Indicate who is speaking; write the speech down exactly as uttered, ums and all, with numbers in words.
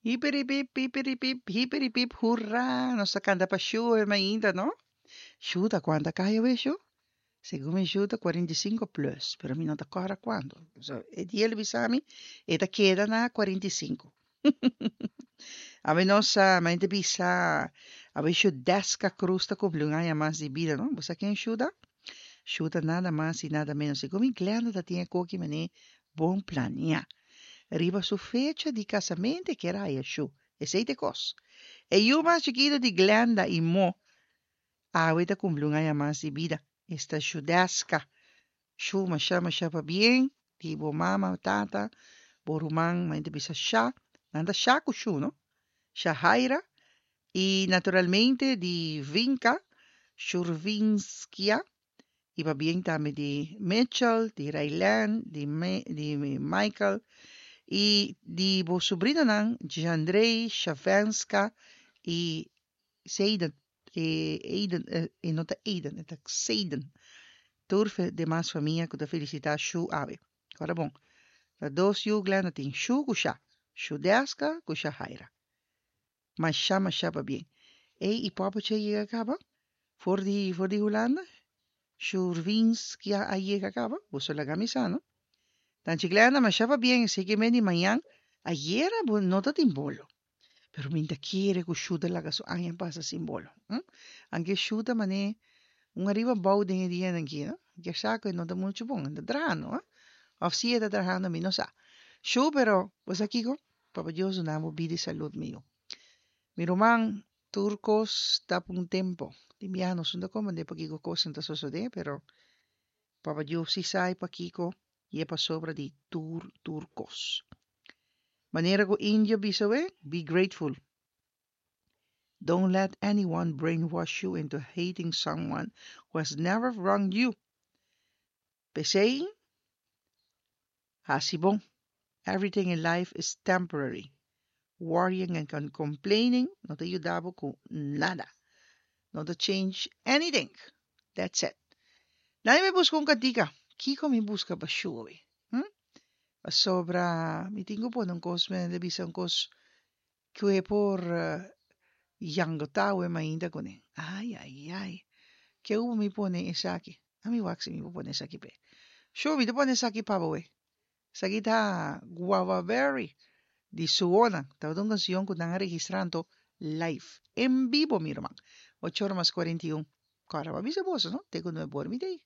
Speaker 1: Hiperipip, hiperipip, hiperipip, hurra! Nos ta kanta pa Shu ainda, no? Shu ta kuantu aña awe, Shu? Segun mi Shu ta kuarenta i sinku plus, pero mi no ta kòrda kuantu. So, e dia el bisa mi, e ta keda na kuarenta i sinku. Awe nos a bisa, awe Shu Deska Cruz ta kumpli un aña mas di bida, no? Bo sa ken Shu ta? Shu ta nada mas i nada menos. Segun mi Glenda ta tin e koki manera bon planiá. Riba su fecha di kasamentu ku era Shu. Esei ta e kos. E yu mas chikitu di Glenda i Mo, awe ta kumpli un aña mas di bida. Esta Shudeska. Shu masha masha pabien. Di bo mama, tata, bo ruman, mi ta bisa Sha. Nan ta Sha ku Shu, no? Shahaira. I naturalmente di Vinka, Shurvinskia. I pabien tambe di Mitchell, di Raylan, di, Me, di Michael. I di bo sobrinonan, Jandrei, Shavenska i Seiden. E, Aiden, e, no ta Aiden, ta Seiden. Tur demas famia ku ta felisitá Shu awe. Awor bon, ta dos yu Glenda tin, Shu ku Sha. Shudeska ku Shahaira. Masha masha pabien. Ei, i papa a yega kaba? For di, for di Hulanda? Shurvinskia a yega kaba? Boso laga mi sa, no? Tanchi Glenda, masha pabien, sei ku di mañan, ayera bo no tatin bolo. Pero mi ta kere ku Shu ta laga su aña pasa sin bolo. Hm? Anke Shu ta manera un ariba abou den e dianan aki, no? Ke sa ku no ta muchu bon, ta trahando, eh? Òf si e ta trahando, mi no sa. Shu, pero, bo sa kiko? Papa Dios duna bo bida i salú, mi yu. Mi ruman, tur kos ta un tempu. Di mi no ta komprondé pakiko kos ta sosodé, pero Papa Dios si sa pakiko i e pasobra di tur tur kos. Manera ku indio bisa we, be grateful. Don't let anyone brainwash you into hating someone who has never wronged you. P'esei, hasi bon. Everything in life is temporary. Worrying and complaining no ta yuda ku nada. No ta change anything. That's it. Laga mi buska un kantika. Kiko mi buska pa Shu? Hm? Sobra mi tin ku pone un kos, mi bisa un kos ku e por uh, yangota we mainta kuné. Ai, ai, ai. Ke mi pone esaki? Ami wak si mi pone esaki p'e. Shu, mi ta pone esaki pa bo we. Esaki ta Guava Berry di Suona. Ta un kanshon ku nan a registrá live. En bibo, mi ruman. ocho or mas kuarenta i un. Awor, bisa boso, no? Te ku nuebe or mi t'ei.